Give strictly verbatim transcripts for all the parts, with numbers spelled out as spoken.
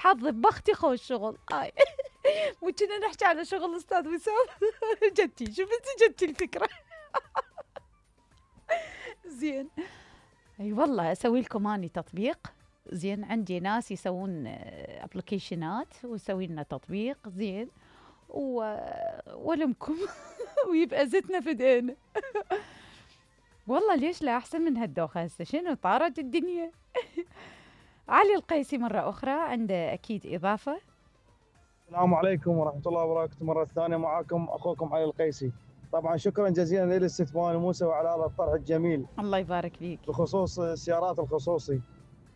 حظي بختي خوش شغل هاي. مو كنا نحكي على شغل استاذ وسام. جدتي شفتي جدتي الفكره. زين اي والله اسوي لكم اني تطبيق. زين عندي ناس يسوون ابلكيشنات ويسوي لنا تطبيق زين و... ولمكم. ويبقى زتنا في ايدينا. والله ليش لا احسن من هالدوخه هسه شنو طارت الدنيا. علي القيسي مره اخرى عنده اكيد اضافه. السلام عليكم ورحمه الله وبركاته. مره ثانيه معاكم اخوكم علي القيسي. طبعا شكرا جزيلا للاستثمار موسى وعلى هذا الطرح الجميل. الله يبارك فيك. بخصوص السيارات الخصوصي.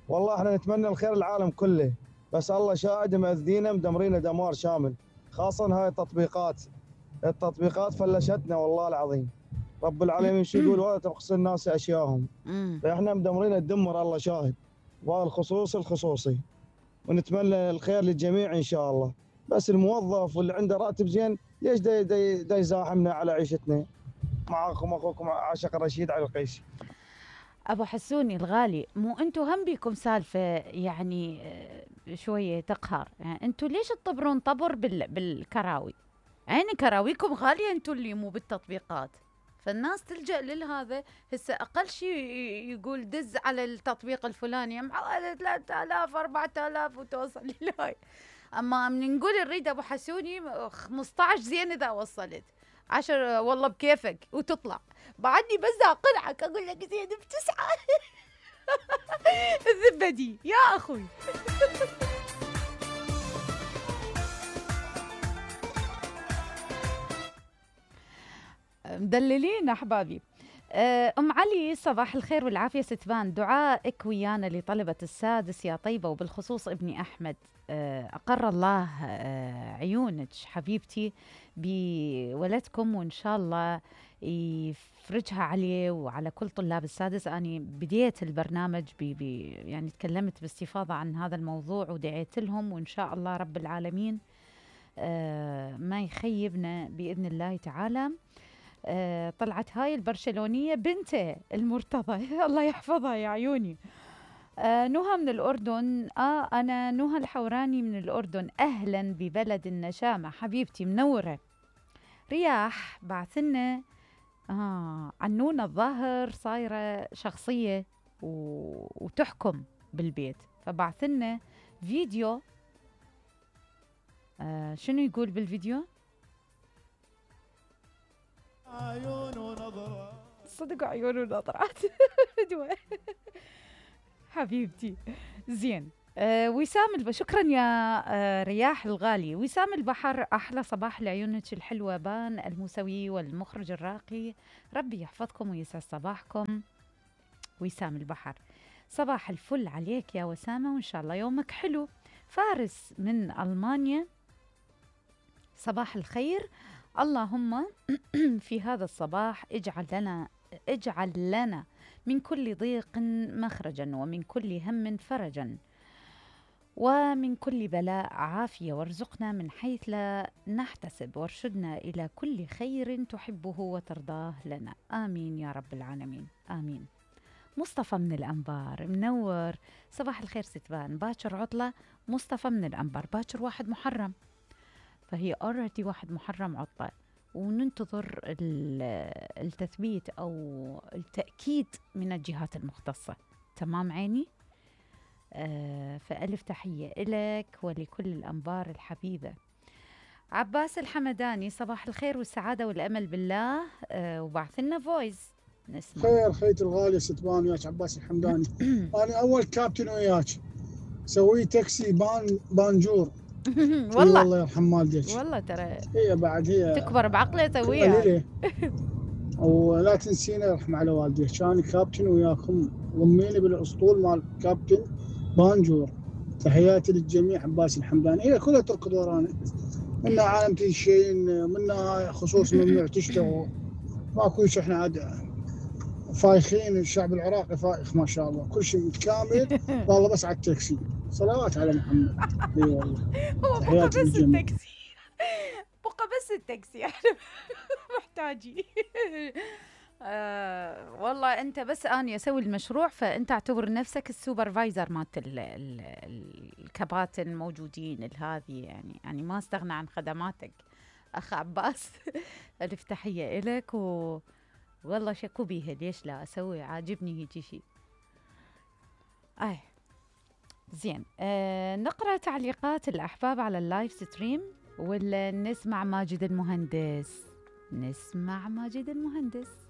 والله احنا نتمنى الخير العالم كله، بس الله شاهد مأذينا مدمرينا دمار شامل، خاصة هاي التطبيقات. التطبيقات فلشتنا والله العظيم. رب العالمين شو يقول ولا تبخس الناس اشياءهم. فاحنا مدمرين الدمر الله شاهد. وهذا الخصوصي الخصوصي. ونتمنى الخير للجميع ان شاء الله. بس الموظف واللي عنده راتب زين ليش دا, دا, دا يزاحمنا على عيشتنا؟ معاكم اخوكم عاشق رشيد علي القيسي. ابو حسوني الغالي، مو انتم هم بيكم سالفه يعني شويه تقهر، يعني انتم ليش تطبرون طبر بال بالكراوي؟ عيني كراويكم غاليه انتم اللي مو بالتطبيقات. فالناس تلجأ لهذا. هسه اقل شيء يقول دز على التطبيق الفلاني معاه ثلاثة آلاف أربعة آلاف وتوصل لهاي. اما من نقول نريد ابو حسوني خمسة عشر زين اذا وصلت عشر والله بكيفك وتطلع. بعدني بس اقنعك اقول لك زين بتسعه. الزبدي يا اخوي. مدللين احبابي. ام علي صباح الخير والعافيه ستبان، دعائك ويانا لطلبه السادس يا طيبه وبالخصوص ابني احمد. اقر الله عيونك حبيبتي بولدكم وان شاء الله يفرجها عليه وعلى كل طلاب السادس. اني بديت البرنامج بي بي يعني تكلمت باستفاضه عن هذا الموضوع ودعيت لهم، وان شاء الله رب العالمين ما يخيبنا باذن الله تعالى. آه طلعت هاي البرشلونية بنته المرتضى. الله يحفظها يا عيوني. آه نهى من الأردن. آه أنا نهى الحوراني من الأردن. أهلا ببلد النشامة حبيبتي منورة. رياح بعثنا آه عنونة الظاهر صايرة شخصية وتحكم بالبيت، فبعثنا فيديو. آه شنو يقول بالفيديو؟ عيون ونظرات صدق عيون ونظرات. حبيبتي زين. آه وسام الب... شكرا يا آه رياح الغالي. وسام البحر احلى صباح لعيونك الحلوه. بان الموسوي والمخرج الراقي، ربي يحفظكم ويسعد صباحكم. وسام البحر صباح الفل عليك يا وسامه وان شاء الله يومك حلو. فارس من المانيا صباح الخير. اللهم في هذا الصباح اجعل لنا اجعل لنا من كل ضيق مخرجا ومن كل هم فرجا ومن كل بلاء عافية، وارزقنا من حيث لا نحتسب، وارشدنا إلى كل خير تحبه وترضاه لنا. آمين يا رب العالمين آمين. مصطفى من الأنبار منور. صباح الخير ستبان. باكر عطلة. مصطفى من الأنبار باكر واحد محرم، فهي اوريدي واحد محرم عطلة، وننتظر التثبيت أو التأكيد من الجهات المختصة. تمام عيني. آه فألف تحية إلك ولكل الأنبار الحبيبة. عباس الحمداني صباح الخير والسعادة والأمل بالله. آه وبعث لنا فويس نسمع. خير خيت الغالية ستبان وياك عباس الحمداني. أنا أول كابتن وياك سوي تاكسي بان بانجور. والله الله يرحم والديك. والله ترى هي بعد هي تكبر بعقله تسويها. ولا تنسينا يرحم على والديك، كان كابتن وياكم ضميني بالاسطول مال كابتن بانجور. تحياتي للجميع. عباس الحمداني. هي كلها تركض ورانا، منا عالم تنشين، منا خصوص ممنوع تشتغل، ماكو شيء. احنا عاد فايخين، الشعب العراقي فايخ ما شاء الله، كل شيء متكامل. والله بس على التاكسي. صلوات على محمد. اي والله. هو بقى بس التاكسي. بقى بس التاكسي احنا محتاجين. آه والله انت بس اني اسوي المشروع، فانت اعتبر نفسك السوبرفايزر مالت ال- ال- ال- الكباتن الموجودين الهذي، يعني يعني ما استغنى عن خدماتك اخ عباس. الف تحيه الك، و والله شكو بيها، ليش لا اسوي، عاجبني هيجي شيء. اي زين، آه نقرا تعليقات الاحباب على اللايف ستريم ولا نسمع ماجد المهندس؟ نسمع ماجد المهندس.